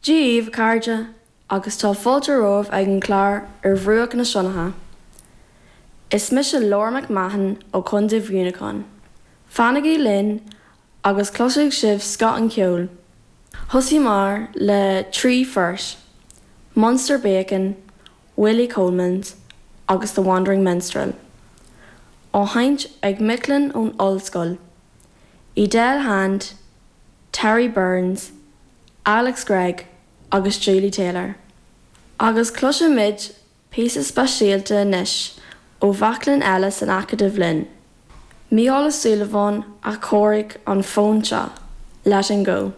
Dia dhaoibh, a chairde, agus tá fáilte romhaibh ag an chlár Ar Bhruach na Sionainne. Is mise Laura McMahon ó Chontae Mhuineacháin. Fanaigí linn agus cloisfidh sibh scoth an cheoil. Thosaíomar le 3 phort, Munster Bacon, Willie Coleman's agus The Wandering Minstrel, á sheinnt ag mic léinn ón ollscoil, Edel Hand, Terry Burns, Alex Gregg agus Julie Taylor. Agus cloisfimid píosa speisialta anois ó mhac léinn eile san Acadamh linn, Mícheál Ó Súilleabháin a chóirigh an fonn seo, Letting Go.